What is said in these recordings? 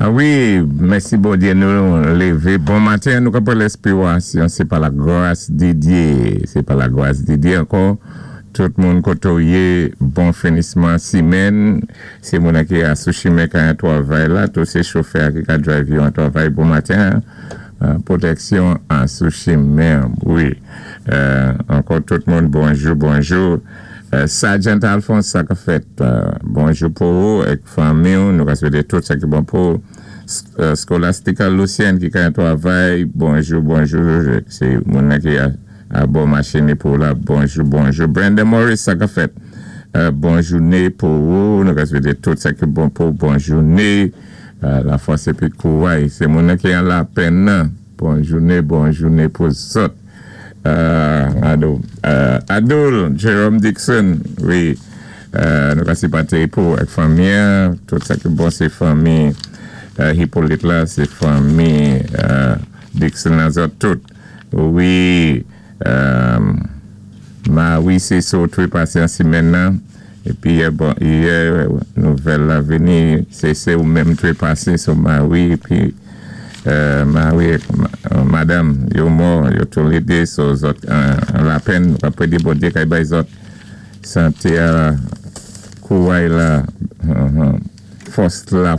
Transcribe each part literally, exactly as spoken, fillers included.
Ah wi, mèsi Bondyé, nou lévé. Bon maten, nou konprann lenspirasyon, sé pa la gras di Dyé, sé pa la gras di Dyé ankò. Tout moun koté ou yé, bon finisman simenn. Sé moun ki a sou chimen ka an twavay la, tou sé chofè ki ka drive yo an twavay bon maten. Euh, pwotèksyon an sou chimen, wi. Euh, ankò tout moun, bonjou, bonjou. Euh, Sergeant Alphonse, sa ka fèt, euh, bonjou pou ou, èk fanmi, nou ka swété tout sa ki bon pou ou. Euh, Scholastica Lucien ki ka an twavay, bonjou, bonjou, sé moun ki a, a bon machin pou la, bonjou, bonjou. Brenda Morris, sa ka fèt, euh, bon jouné pou ou, nou ka swété tout sa ki bon pou ou, bon jouné. Euh, la fòs épi kouray, sé moun ki an lapenn nan. Bon jouné, bon jouné pou zòt. Euh, Ado, euh, Adoul, Jerome Dixon, wi, euh, nou ka sipòté pou èk fanmi, tout sa ki bon sé fanmi euh, Hippolyte la, sé fanmi euh, Dixon la zòt tout. Wi, euh, ma wi, sé sot wi pasé an simenn nan, épi yè, bon, yè, nouvèl la vini, sé sé ou menm té pasé sou Marie, épi euh, Marie, ma, madanm, yo mò, yo toulédé, so zòt an, an lapenn, apwé di Bondyé kay bay zòt santé a kouray la, uh, fòs la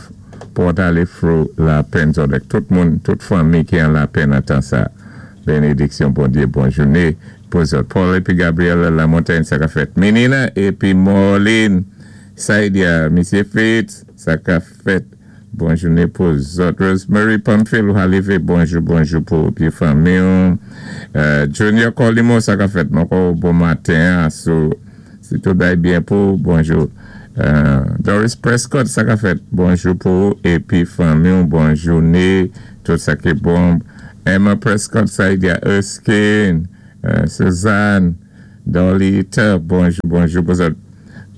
pou alé through lapenn zòt èk tout moun, tout fanmi ki an lapenn an tan sa. Bénédiksyon Bondyé, bon jouné pou zòt. Paul épi Gabriel La Montagne, sa ka fèt. Menina épi Marlene, Saidia, Misyé Fitz, sa ka fèt. Bon jouné pou zòt. Rosemary Pamphile, ou lévé, bonjou, bonjou pou épi fanmi. Euh, Junior Colimo, sa ka fèt. Ankò bon maten, so, si tout bay byen pou, bonjou. Euh, Doris Prescott, sa ka fèt. Bonjou pou épi fanmi, bon jouné, tout sa ki bon. Emma Prescott, Saidia Erskine, euh, Suzanne, Dolly Tubb, bonjou, bonjou pou zòt.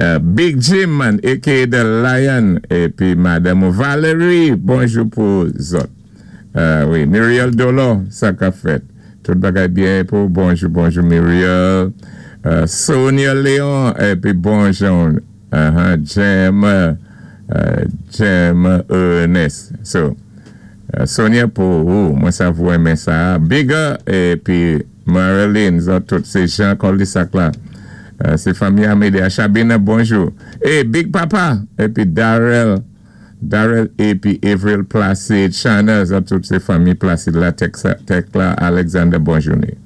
Euh, Big Jim, man, A K A The Lion, épi Madanm Valérie, bonjou pou zòt. Euh, wi, Muriel Dolo, sa ka fèt. Tout bagay byen pou, bonjou, bonjou Muriel. Euh, Sonia Léon, épi bonjou, uh-huh, Jem, euh, Jem Ernest. So, euh, Sonia pou ou, mwen sa vou renmen sa. Bigger, épi Marilyn, zòt tout, sé Jean Colisac la. Euh, sé fanmi Amédée Chabina, bonjou. E Big Papa, épi Darrell, Darrell épi Avril Placide, Shana, zòt tout sé fanmi Placide la, Tekla, Alexander, bon jouné.